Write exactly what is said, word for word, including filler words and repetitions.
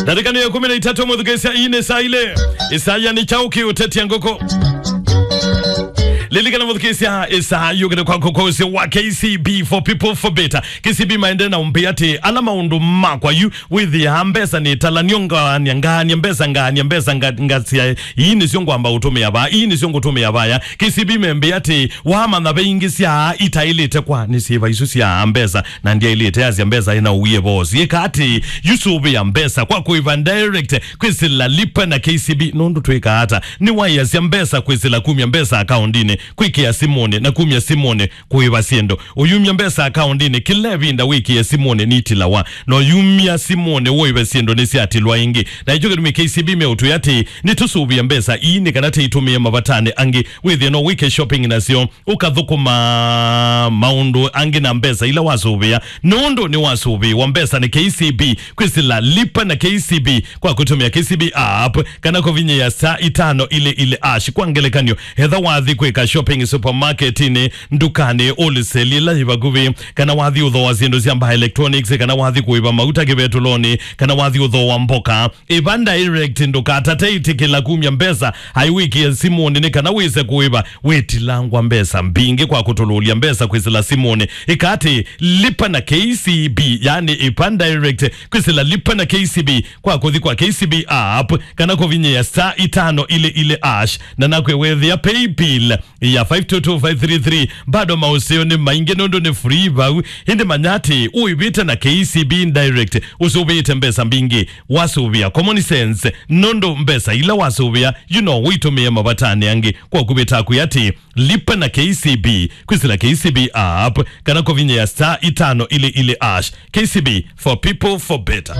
Ndatĩka nĩ ya ĩkũmi na itatũ, mũthukĩĩsya, ii nĩ saa ilĩ. Ĩsaa nĩ kyaũ kĩũtetya ngũkũ? Lilikana mũthukĩĩsya, ĩsaa yũkĩte kwaku kwa ũsĩ wa K C B, for people, for better. K C B maendee na ũmbĩa atĩ ala maũndũ makwa yu wĩthĩaa mbesa nĩ talanio, ngaania, ngaania mbesa, ngaania mbesa, nga-, ngasya, ii nĩsyo ngwamba ũtũmĩa vaa, ii nĩsyo ngũtũmĩa vaya. K C B membĩa atĩ, wamanya ve ingĩ sya itaĩlĩte kwa nĩ syĩva isu sya mbesa, na ndyaĩlĩte asya mbesa ĩna ũwie voo. Syĩka atĩ, yu sũvĩa mbesa kwa kũĩva direct kwĩsĩla Lipa na K C B, nũndũ twĩkaa ata? Nĩwaĩasya mbesa kwĩsĩla kumya mbesa akaũndinĩ, kwĩkĩa simũnĩ, na kumya simũnĩ kũĩva syĩndũ. Ũyumya mbesa akaũndinĩ kĩla ĩvinda wĩkĩe simũnĩ nitilawa, na ũyumya simũnĩ ũĩve syĩndũ nĩsyatilwa ĩngĩ. Na ĩkyo kĩtumi K C B meũtwĩa atĩ nĩtũsũvĩa mbesa ii nĩ kana tĩitũmĩe mavatanĩ angĩ, wĩthĩe no wĩke shopping nasyo, ũkathũkũma maũndũ angĩ na mbesa ila wasũvĩa, nũndũ nĩwasũvĩwa mbesa nĩ K C B kwĩsĩla Lipa na K C B kwa kũtũmĩa K C B app kana kũvinyĩa star itano ilĩ ilĩ hash. Kwa ngelekany'o, etha wathi kwĩka shopping supermarketinĩ, ndukanĩ, wholesale ĩla yĩ vakuvĩ, kana wathi ũthooa syĩndũ sya mbaa electronics, kana wathi kũĩva mauta kĩvetũlonĩ, kana wathi ũthooa mboka, ĩva direct, ndũkatate ĩtĩkĩla kumya mbesa aiwĩkĩe simũnĩ nĩ kana wĩse kũĩva wĩtilangwa mbesa mbingĩ kwa kũtũlũlya mbesa kwĩsĩla simũnĩ. Ĩka atĩ, Lipa na K C B, yani ĩva direct kwĩsĩla Lipa na K C B kwa kũthi kwa K C B app kana kũvinyĩa star itano ilĩ ilĩ hash, na nakw'e wethĩa paybill ya five two two five three three. Bado maũseo nĩ maingĩ nũndũ nĩ free vau, ĩndĩ manya atĩ ũĩvĩte na K C B direct, ũsũvĩĩte mbesa mbingĩ. Wasũvĩa common sense, nũndũ mbesa ila wasũvĩa, you know, ũitũmĩe mavatanĩ angĩ. Kwa kũvĩta kwĩ atĩ, Lipa na K C B kwĩsĩla K C B app kana kũvinyĩa star itano ilĩ ilĩ hash. K C B, for people, for better.